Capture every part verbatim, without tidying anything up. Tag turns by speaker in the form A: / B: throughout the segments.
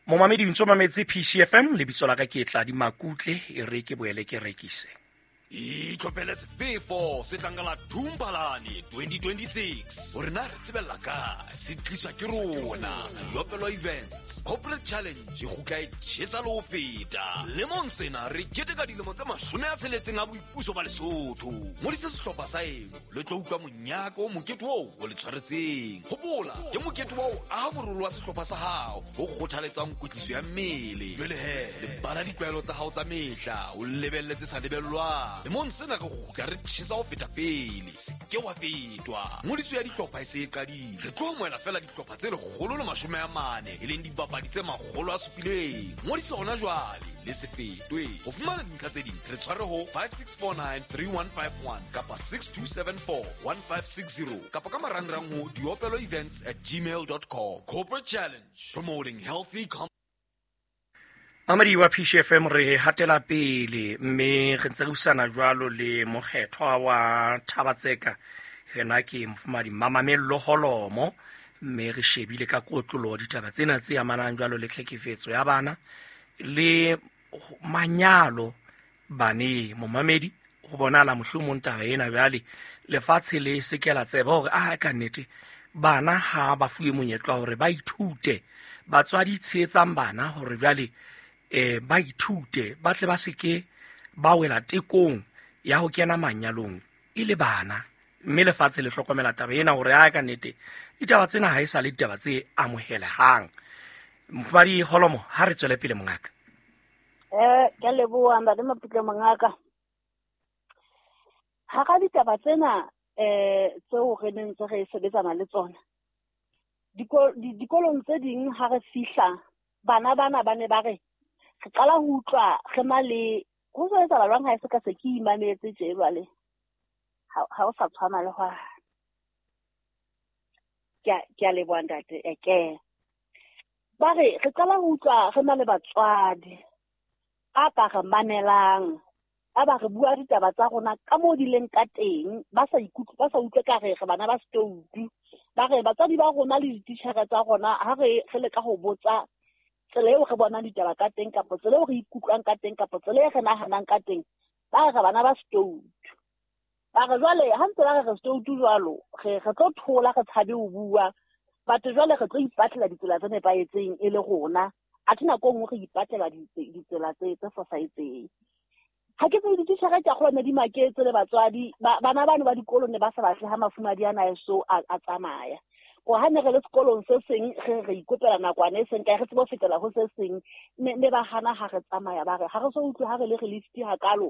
A: Momamedi o ntso mametse P C F M, lebitso la ka ke Tladi Makutle, e re ke boele ke rekise.
B: Itlhophele sefefo se tlang ka la Thumpalane twenty twenty-six. Hore na re tsebella kae, se tliswa ke rona. Diopelo Events Corporate Challenge e kgutla e tjhesa le ho feta. Lemong sena re keteka dilemo tse mashome a tsheletseng a boipuso ba Lesotho. Ngodisa sehlopha sa eno le tlo utlwa monyaka o mokete oo o le tshwaretseng. Hopola, ke mokete wa ho aha morolo wa sehlopha sa hao o kgothaletsang kwetliso ya mmele. Jwale he, lebala ditlwaelo tsa hao tsa mehla, o lebelle tse sa lebellwang. Lemong sena re kgutla re tjhesa ho feta pele, se ke wa fetwa. Ngodiso ya dihlopha e se e qadile. Re tlo amohela feela dihlopha tse lekgolo le mashome a mane, e leng dibapadi tse makgolo a supileng. Ngodiso hona jwale, le se fetwe. Ho fumana dintlha tse ding, re tshware ho five six four nine three one five one kapa six two seven four one five six zero kapa ka marangrang ho diopelo events at gmail dot com. Corporate Challenge, promoting healthy com-
A: Mamedi wa P C F M, re hatela pele mme re ntse re busana jwalo le mokgethwa wa Thabatseka. Rena ke mofumahadi Mamamello Holomo, mme re shebile ka kotloloho ditaba tsena tse amanang jwalo le tlhekefetso ya bana le manyalo baneng. Momamedi, ho bonahala mohlomong taba ena jwale lefatshe le se ke la tseba hore a ka nnete bana ha ba fuwe monyetla hore ba ithute. Batswadi tshehetsang bana hore jwale eh ba ithute, ba tle ba se ke ba wela tekong ya ho kena manyalong e le bana. Mme lefatshe le hlokomela taba ena hore a ka nnete ditaba tsena ha e sa le ditaba tse amohelehang. Mofumahadi Holomo, ha re tswele pele mongaka.
C: Eh, ke a leboha ntate Maputle mongaka. Hara ditaba tsena eh tseo re neng ntse re sebetsana le tsona, diko-, di-, dikolong tse ding ha re fihla, bana bana ba ne ba re re qala ho utlwa re na le ho so etsahala jwang ha e se ka se ke imametse tje jwale. Ha, ha o sa tshwana le hwa. Ke a, ke a leboha ntate, e ke. Ba re re qala ho utlwa re na le batswadi ba ka re mamelang, ba ba re bua ditaba tsa rona ka moo di leng ka teng, ba sa ikutlwe, ba sa utlwe ka re re bana ba setoutu. Ba re batswadi ba rona le dititjhere tsa rona ha re, re leka ho botsa tsela eo re bonang ditaba ka teng, kapa tsela eo re ikutlwang ka teng, kapa tsela e re nahanang ka teng, ba re re bana ba setoutu. Ba re jwale ha ntse ba re re setoutu jwalo, re, re tlo thola re tshabe ho bua, batho jwale re tlo ipatlela ditsela tse nepahetseng e le rona. Athe nako e nngwe re ipatlela ditse-, ditsela tse, tse fosahetseng. Ha ke tsebe dititjhere ke a kgolwa ne di maketse le batswadi, ba-, bana bano ba dikolo ne ba sa batle ha mafumahadi ana eso a, a tsamaya. Ko ha ne re le sekolong se seng, re, re ikopela nakwana e seng kae, re tsebe ho fetela ho se seng, ne, ne ba hana ha re tsamaya, ba re ha re so utlwe ha re le re lift hakalo,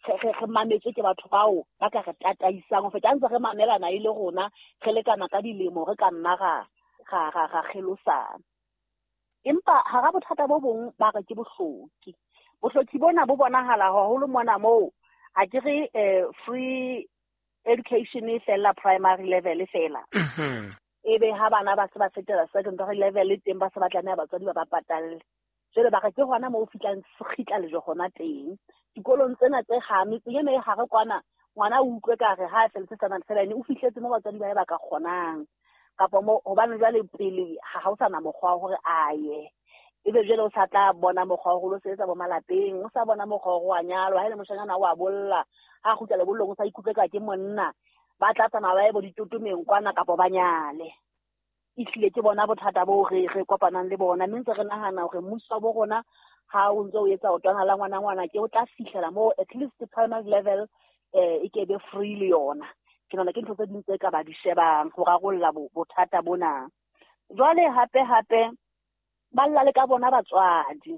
C: re, re, re mametswe ke batho bao ba ka re tataisang ho feta ha ntse re mamelana e le rona, re lekana ka dilemo, re ka nna ra, ra, ra, ra kgelosana. Empa hara bothata bo bong ba re ke bohloki. Bohloki bona bo bonahala haholo mona moo, ha ke re, eh, free education e fella primary level fela.
A: Mhm.
C: Ebe ha bana ba se ba fetela secondary level e teng, ba se ba tlameha batswadi ba ba patalle. Jwale ba re ke hona moo ho fihlang sekgitla lejwe hona teng. Dikolong tsena tse ha metseng ena e hare kwana, ngwana o utlwe ka re ha a felletse standard seven, o fihletse moo batswadi ba hae ba ka kgonang. Kapa mo, hobane jwale pele ha, ha o sa na mokgwa wa hore a ye. Ebe jwale o sa tla bona mokgwa wa hore o sebetsa bo malapeng, o sa bona mokgwa wa hore wa nyalwa, ha e le moshanyana o a bolla, ha a kgutla lebollong o sa ikutlwe ka ke monna, ba tla tsamaya ba ye bo ditotomeng kwana kapa ba nyale. Ehlile ke bona bothata boo re, re kopanang le bona, mme ntse re nahana hore mmuso wa bo rona ha o ntse o etsa o twana la ngwana ngwana ke o tla fihlela moo at least primary level, eh, e ke be free le yona. Ke nahana ke ntho tse ding tse ka ba di shebang ho rarolla bo-, bothata bona. Jwale hape hape ba lla le ka bona batswadi,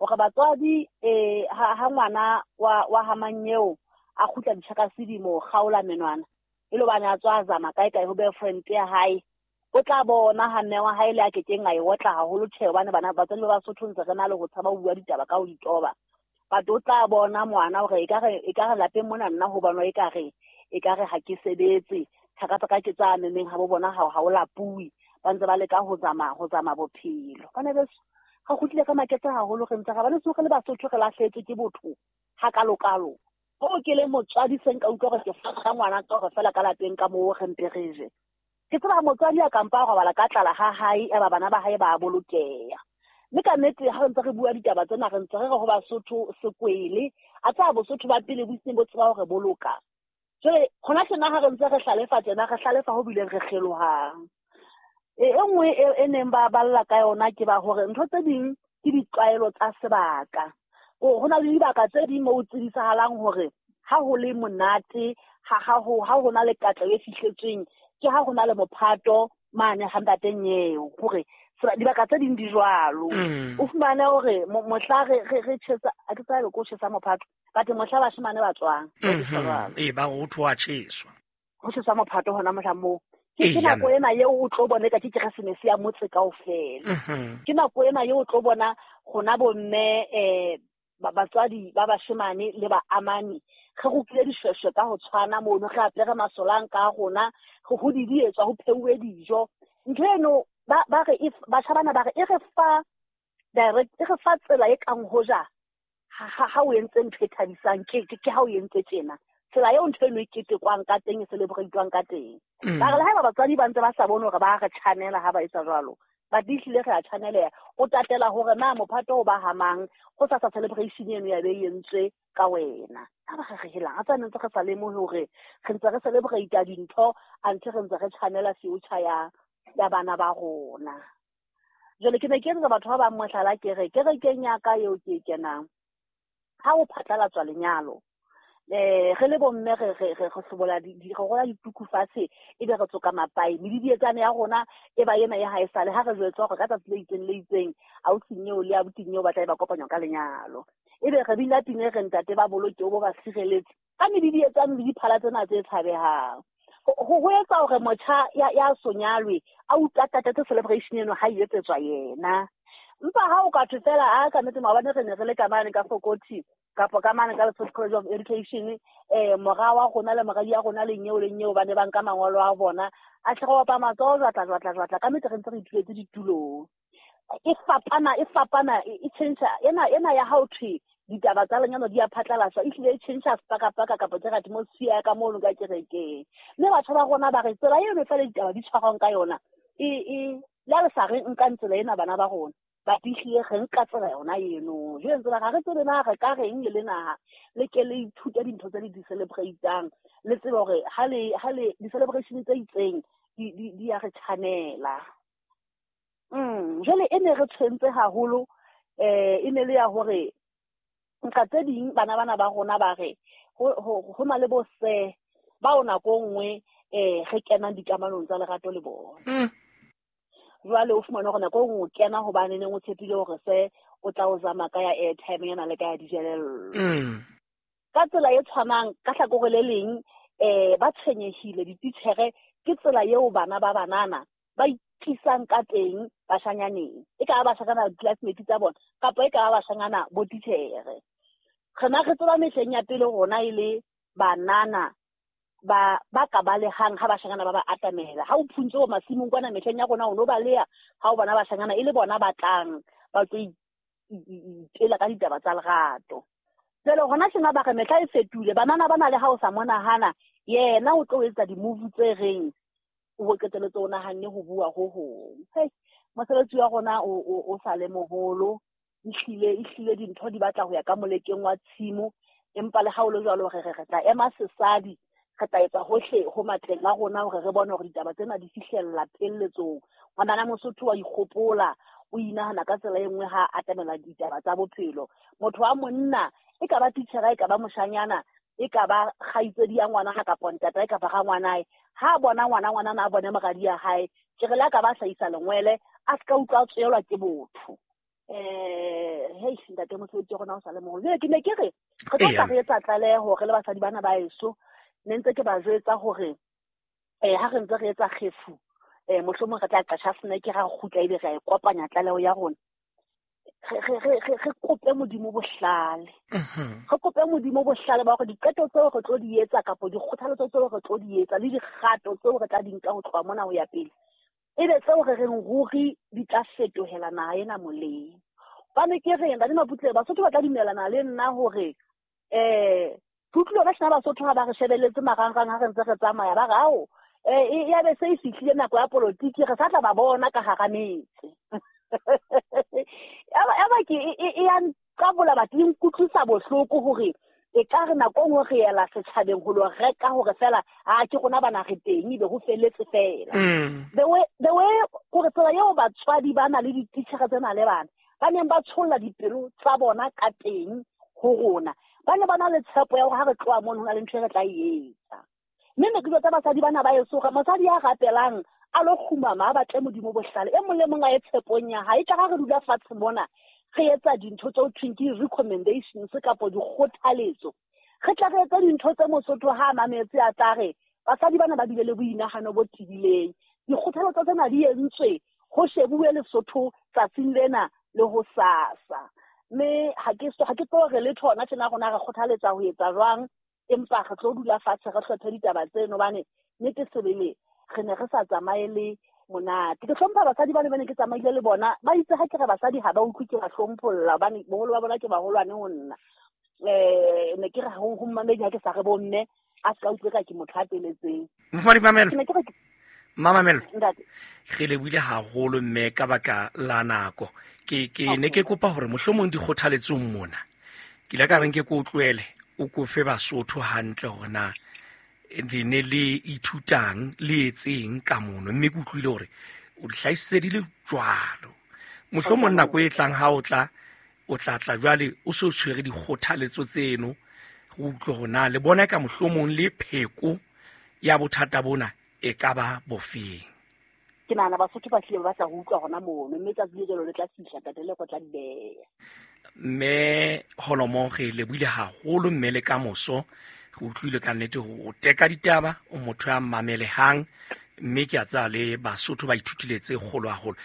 C: hore batswadi, eh, ha, ha ngwana wa, wa ha manyeo a kgutla ditjhakasedimo kgaola menwana, e le hobane a tswa a zama kae kae ho boyfriend ya hae, o tla bona ha mme wa hae le a kekeng a e otla haholo tjhe, hobane bana batswadi ba Basotho ntse re na le ho tshaba ho bua ditaba ka ho di toba. But o tla bona ngwana hore ekare, ekare lapeng mona nna ho bonwa ekare, ekare ha ke sebetse, thaka tsa ka ke tsa memeng ha bo bona ha, ha o lapuwe, ba ntse ba leka ho zama, ho zama bophelo. Bana beso, re kgutlile ka maketse haholo, re ntse re ba le re le Basotho re lahlehetswe ke botho hakalokalo. Ho ke le motswadi se nka utlwa hore ke fa ngwana ka hore fela ka lapeng ka moo re mpe re je. Ke tseba motswadi a kampa a robala ka tlala ha hae, eba bana ba hae ba bolokeha. Mme ka nnete ha re ntse re bua ditaba tsena re ntse re re ho Basotho sekwele, a tsa Bosotho ba pele bo iseng bo tseba hore boloka. Jwale hona tjena ha re ntse re hlalefa tjena, re hlalefa ho bileng re kgelohang. E e nngwe e e neng ba balla ka yona ke ba hore ntho tse ding ke ditlwaelo tsa sebaka. Ho na le dibaka tse ding moo tsebisahalang hore ha ho le monate, ha ha ho ha ho na le katleho e fihletsweng, ke ha ho na le mophato mane ha ntate Nyeo, hore dibaka tse ding di jwalo. O fumane hore mohla re re re tjhesa, a ke tsebe ko tjhesa mophato, but mohla bashemane ba tswang.
A: Ee, ba re ho thwe ho a tjheswa.
C: Ho tjheswa mophato hona mohla moo. Ke nako ena eo o tlo bona eka ke Keresemese ya motse kaofela. Ke nako ena eo o tlo bona rona bomme eh batswadi ba bashemane le ba amani re rukile dishweshwe ka ho tshwana mono, re apere masolanka a rona, re ho didietswa, ho pheuwe dijo. Ntho eno ba ba re batjha bana ba re e re fa direct, e re fa tsela e kang hoja ha ha o entse ntho e thabisang, ke ke ha o entse tjena. Tsela eo ntho eno e ketekwang ka teng, e celebrate-wang ka teng. Ba re le haeba batswadi ba ntse ba sa bone hore ba re tjhanela ha ba etsa jwalo, ba ehlile re a tjhaneleha. O tatela hore na mophato o ba hamang ho sa sa celebration eno ya be e entswe ka wena. Ha ba re re helang, a tsa ntse re sa lemohe hore re ntse re celebrate dintho anthe re ntse re tjhanela future ya ya bana ba rona. Jwale ke ne ke etsetsa batho ba bang mohlala, ke re kerekeng ya ka eo ke e kenang, ha o phatlalatswa lenyalo, eh re le bomme re re re hlobola di re rola dituku fatshe, ebe re tsoka mapai, medidietsane ya rona e ba ena ya haesale ha re jwetswa hore ka tsatsi le itseng le itseng ausi Nyeo le abuti Nyeo ba tla ba kopanywa ka lenyalo. Ebe re bina pina e re ntate ba boloke o bo ba sireletse ka medidietsane le diphala tsena tse tshabehang. Ho ho etsa hore motjha ya ya sonyalwe a utlwa tatetse celebration eno ha e etsetswa yena. Empa ha o ka thwe fela a ka nnete maobane re ne re le ka mane ka Fokothi kapa ka mane ka Lesotho College of Education, eh mora wa rona le moradi ya rona le Nyeo le Nyeo ba ne ba nka mangolo a bona, a tle go opa matsoho jwatla jwatla jwatla, ka nnete re ntse re ituletse ditulong. E fapana, e fapana, e tjhentjha ena ena ya ha o thwe ditaba tsa lenyalo di a phatlalatswa, ehlile e tjhentjha sepakapaka kapa ke atmosphere ya ka mono ka kerekeng. Mme batho ba rona ba re tsela eno fela ditaba di tshwarwang ka yona, e e le ha le sa re nkang tsela ena bana ba rona, ba ehlile re nka tsela yona eno. Jwale ntse ba re tsebe na re ka reng le le naha, le ke le ithute dintho tse le di celebrate-ang, le tsebe hore ha le ha le di-celebration tse itseng di di di ya re tjhanela. Mm, jwale e ne re tshwentse haholo, eh e ne le ya hore nka tse ding bana bana ba rona ba re ho ho na le bo se ba o nako nngwe eh re kenang dikamanong tsa lerato le bona. Jwale o fumana hore nako nngwe o kena hobane neng o tshepile hore se o tla o zama ka ya airtime yana le ka ya dijelello. Ka tsela e tshwanang ka hlakore le leng eh ba tshwenyehile dititjhere ke tsela eo bana ba banana ba itlisang ka teng bashanyaneng. E ka ba bashanyana classmate tsa bona kapa e ka ba bashanyana bo titjhere. Rena re tseba mehleng ya pele rona e le banana ba ba ka balehang ha bashanyana ba ba atamela. Ha o phuntse ho masimong kwana mehleng ya rona o no baleha ha o bona bashanyana e le bona ba tlang ba tlo itela ka ditaba tsa lerato. Jwale hona tjena ba re mehla e fetohile, banana ba na le ha o sa monahana yena o tlo etsa di-move tse reng o qetelletse o nahanne ho bua ho hong. Hei, mosebetsi wa rona o o sa le moholo, ehlile ehlile dintho di batla ho ya ka molekeng wa tshimo, empa le ha o le jwalo re re re tla ema sesadi, re tla etsa hohle ho matleng a rona hore re bone hore ditaba tsena di fihlella pheletsong. Ngwana Mosotho wa ikgopola, o inahana ka tsela e nngwe ha atamela ditaba tsa bophelo. Motho wa monna e ka ba titjhere, e ka ba moshanyana, e ka ba kgaitsedi ya ngwana ha kapa ntatae kapa rangwanae, ha bona ngwana ngwanana a bone moradi ya hae, ke re le a ka ba hlahisa lengwele, a se ka utlwa a tswelwa ke botho. Eh hei ntate mosebetsi wa rona o sa le moholo. Jwale ke ne ke re re tlo tla re etsa tlaleho re le basadi bana ba heso, ne ntse ke ba jwetsa hore eh ha re ntse re etsa kgefu, eh mohlomong re tla qasha snack ra kgutla ebe re a e kopanya tlaleho ya rona. Re re re re kope Modimo bohlale. Re kope Modimo bohlale ba hore diqeto tseo re tlo di etsa kapa dikgothaletso tseo re tlo di etsa le dikgato tseo re tla di nka ho tloha mona ho ya pele, ebe tseo re reng ruri di tla fetohela naha ena molemo. Hobane ke reng ntate Maputle, Basotho ba tla dumellana le nna hore eh ke utlwile ba shena Basotho ha ba re shebelletse marangrang ha re ntse re tsamaya, ba re ao eh ya be se e fihlile nako ya politiki, re sa tla ba bona ka hara metse. ke e ya nqabola batho e nkutlwisa bohloko hore e ka re nako nngwe re ela setjhabeng ho lo reka hore fela a ke rona bana re teng ebe ho felletse fela. The way the way hore tsela eo batswadi ba na le dititjhere tsena le bana ba neng ba tsholla dipelo tsa bona ka teng ho rona, ba ne ba na le tshepo ya hore ha re tloha mono ho na le ntho e re tla e etsa. Mme ne ke jwetsa basadi bana ba eso hore mosadi ya rapelang a lo kgumama a batle Modimo bohlale, e mong le mong a ye tshepong ya hae. E tla ha re dula fatshe mona re etsa dintho tse ho thweng ke recommendations kapo dikgothaletso, re tla re etsa dintho tse Mosotho ha a mametse a tla re basadi bana ba bile le boinahano bo tebileng. Dikgothaletso tsena di entswe ho shebuwe Lesotho tsatsing lena le ho sasa. Mme ha ke so ha ke tlo re letho hona tjena rona re kgothaletsa ho etsa jwang, empa re tlo dula fatshe re hlophe ditaba tseno hobane nnete sebele re ne re sa tsamaye le monate. Ke hlompha basadi ba ne ba ne ke tsamaile le bona, ba itse ha ke re basadi ha ba utlwe ke ba hlompholla hobane boholo ba bona ke baholwane ho nna. Eh ne ke re ho ho mmamedi ha ke sa re bomme a se ka utlwe ka ke motho a teletseng.
A: Mofumahadi Mamelo,
C: Ke ne ke re
A: Mamamelo,
C: ntate
A: re lebohile haholo mme ka baka la nako. Ke ke ne ke kopa hore mohlomong dikgothaletsong mona ke ile ka reng ke ko utlwele o kofe Basotho hantle hore na le ne le ithutang le etseng ka mono, mme ke utlwile hore o di hlahisitse di le jwalo. Mohlomong nako e tlang ha o tla o tla tla jwale o so tshwere dikgothaletso tseno, go utlwe hore na le bona ka mohlomong le pheko ya bothata bona e ka ba bofeng.
C: Ke nahana Basotho ba hlile ba batla ho utlwa hona mono, mme tsatsi le jwalo le tla fihla ntate le tla di beha.
A: Mme Holomo re lebohile haholo mme le kamoso re utlwile ka nnete ho teka ditaba, o motho ya mamelehang, mme ke a tsaya le Basotho ba ithutile tse kgolo haholo.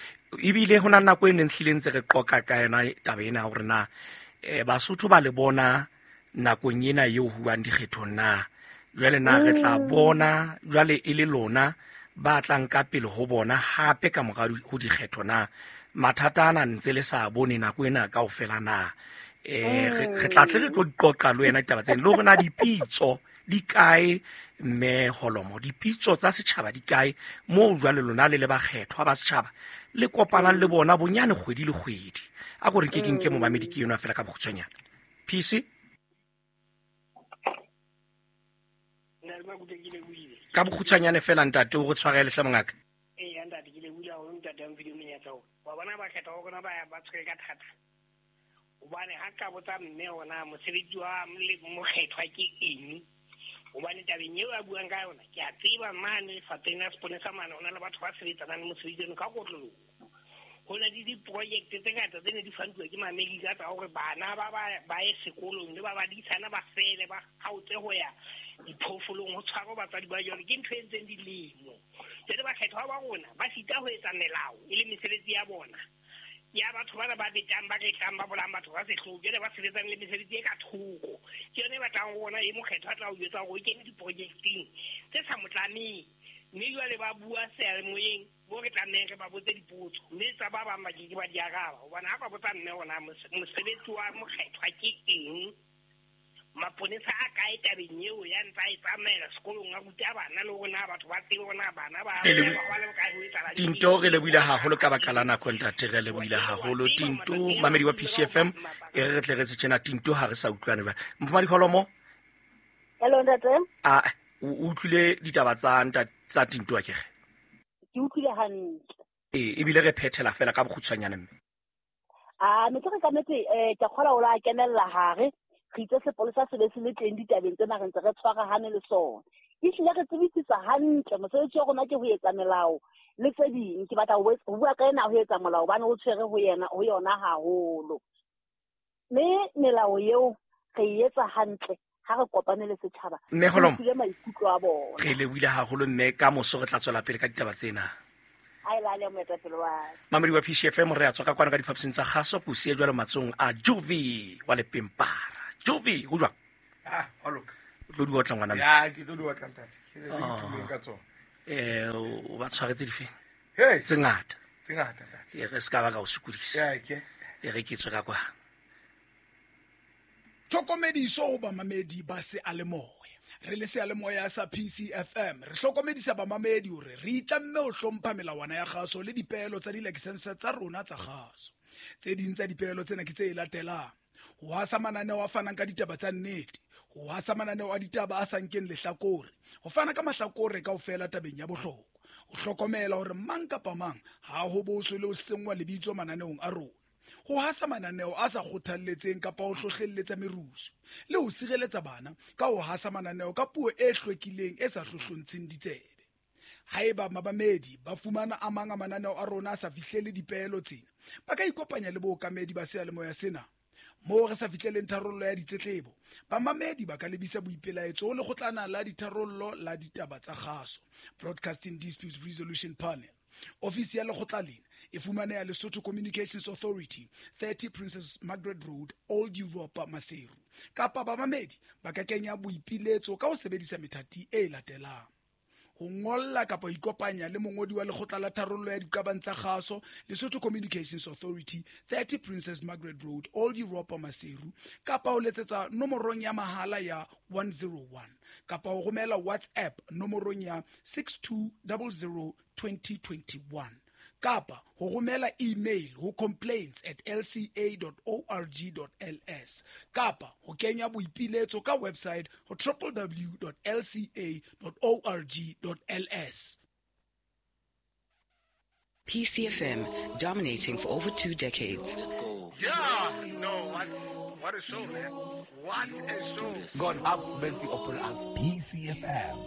A: Ebile ho na le nako e neng hlile ntse re qoqa ka yona taba ena hore na eh, Basotho ba le bona nakong ena eo ho buang dikgethong na jwale na re tla bona jwale e le lona ba tlang ka pele ho bona hape ka mora ho dikgetho na mathata ana ntse le sa bone nako ena kaofela na. Eh re tla tle re tlo di qoqa le wena ditaba tsena le hore na dipitso di kae mme Holomo, dipitso tsa setjhaba di kae moo jwale lona le le bakgethwa ba setjhaba le kopanang le bona bonyane kgwedi le kgwedi. A ko re nke ke nke momamedi ke yona fela ka bokgutshwanyane. P C ka bokgutshwanyane fela ntate o re tshwarele hle mongaka.
D: Ee ntate ke lebohile haholo ntate a mphile monyetla oo. Wa bona bakgethwa ba rona ba ba tshwere ka thata hobane ha ka botsa mme hona mosebetsi wa mokgethwa ke eng, hobane tabeng eo a buang ka yona ke a tseba mane lefapheng la seponesa mane ho na le batho ba sebetsanang le mosebetsi ono ka kotloloho. Ho na le diprojekte tse ngata tse ne di fantuwa ke Maamerika tsa hore bana ba ba ba ye sekolong le ba badisana ba fele ba kgaotse ho ya diphoofolong ho tshwarwa batswadi ba jwalo ke ntho e ntseng dilemo. Jwale bakgethwa ba rona ba sita ho etsa melao e le mesebetsi ya bona ya batho bana ba betang ba retlang ba bolayang batho ka sehloho, jwale ba sebetsang le mesebetsi e ka thoko. Ke yona e batlang ho rona e mokgethwa a tla o jwetsa hore o kene diprojecteng tse sa mo tlameng, mme jwale ba bua seyalemoyeng bo re tlamehang re ba botse dipotso mme tsa ba bang ba ke ke ba di araba. Hobane ha ba botsa mme hona mosebetsi wa mokgethwa ke eng, maponesa a kae tabeng eo ya ntsa e tsamaela sekolong a ruta bana le hore na batho ba tsebe hore na bana ba ba le bokae ho etsahala.
A: Tinto re lebohile haholo ka baka la nako ntate, re lebohile haholo Tinto mamedi wa P C F M. E re re tle re tse tjena Tinto ha re sa utlwane jwale. Mofumahadi Holomo.
C: Hello ntate.
A: A o utlwile ditaba tsa ntate tsa Tinto akere?
C: Ke utlwile hantle.
A: Ee, ebile re phethela fela ka bokgutshwanyane mme.
C: Ah, ne ke re ka nnete eh ke kgola o la kenella hare. Re itse sepolesa se be se le teng ditabeng tsena re ntse re tshwarahane le sona. Ehlile re tsebisisa hantle mosebetsi wa rona ke ho etsa melao le tse ding. Ke batla ho bua ka ena ho etsa molao hobane o tshwere ho yena ho yona haholo. Mme melao eo re e etsa hantle ha re kopane le setjhaba.
A: Mme Holomo,
C: re utlwile maikutlo a bona.
A: Re lebohile haholo mme ka moso re tla tswela pele ka ditaba tsena.
C: A ilale moetapele wa
A: Mamedi wa P C F M re a tswa ka kwana ka diphaposing tsa kgaso ko siya jwalo matsong a Jovi wa Lepempara. Jovi, ho jwang?
E: Ah, ho loka.
A: O tlo di otla ngwana mme?
E: Ya, ke tlo di otla ntate. Ke le ithumeng ka tsona.
A: Eh, o ba tshwaretse dife?
E: Hey.
A: Tse ngata.
E: Tse ngata ntate.
A: E re se ka ba ka o sokodisa.
E: Ya, ke.
A: E re ke tswe ka kwa.
F: Tlhokomediso ho bamamedi ba seyalemoya. Re le seyalemoya sa P C F M re hlokomedisa bamamedi hore re itlamme ho hlompha melawana ya kgaso le dipeelo tsa dilakesense tsa rona tsa kgaso. Tse ding tsa dipehelo tsena ke tse latelang: ho hasa mananeo a fanang ka ditaba tsa nnete, ho hasa mananeo a ditaba a sa nkeng lehlakore, ho fana ka mahlakore kaofela tabeng ya bohlokwa, ho hlokomela hore mang kapa mang ha ho boswe le ho senngwa lebitso mananeong a rona, ho hasa mananeo a sa kgothalletseng kapa ho hlohlelletsa merusu, le ho sireletsa bana ka ho hasa mananeo ka puo e hlwekileng e sa hlohlontsheng ditsebe. Haeba mamamedi ba fumana a mang a mananeo a rona a sa fihlele dipehelo tsena, ba ka ikopanya le bookamedi ba seyalemoya sena. Moo re sa fihleleng tharollo ya ditletlebo, bamamedi ba ka lebisa boipelaetso ho lekgotlana la ditharollo la ditaba tsa kgaso, Broadcasting Disputes Resolution Panel. Ofisi ya lekgotla lena e fumaneha Lesotho Communications Authority, thirty Princess Margaret Road, Old Europa, Maseru. Kapa bamamedi ba ka kenya boipiletso ka ho sebedisa methati e latelang: ho ngolla kapa ho ikopanya le mongodi wa lekgotla la tharollo ya diqabang tsa kgaso, Lesotho Communications Authority, thirty Princess Margaret Road, Old Europa, Maseru, kapa ho letsetsa nomorong ya mahala ya one zero one, kapa ho romela WhatsApp nomorong ya six two zero zero twenty twenty-one, kapa ho romela email ho complaints at l c a dot org dot l s, kapa ho kenya boipiletso ka website ho w w w dot l c a dot org dot l s.
G: P C F M, dominating for over two decades.
E: Let's go. Yeah, no, what, what a show, man. What a show.
H: God have mercy upon us.
I: P C F M,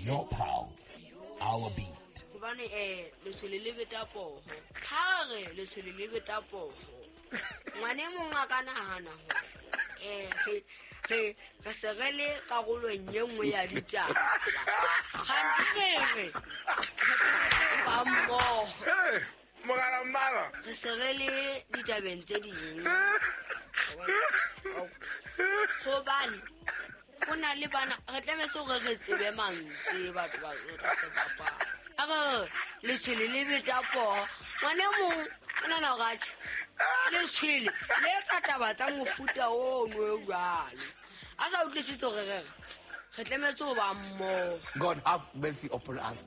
I: your pals, our beat.
J: Hobane eh letshwele le beta poho. Ha re letshwele le beta poho. Ngwane mong a ka nahana hore eh re re re se re le karolong e nngwe ya ditaba. Kganthe re ba mmoho.
E: Hey, mogala mmala.
J: Re se re le ditabeng tse ding. Hobane ho na le bana re tlametse hore re tsebe mantswe batho ba re bapala. A re letshwele le beta poho. Ngwane mong o nahana hore atjhe letshwele le etsa taba tsa mofuta ono o jwalo. A sa utlwisise hore re re tlametse ho ba mmoho.
H: God have mercy upon us.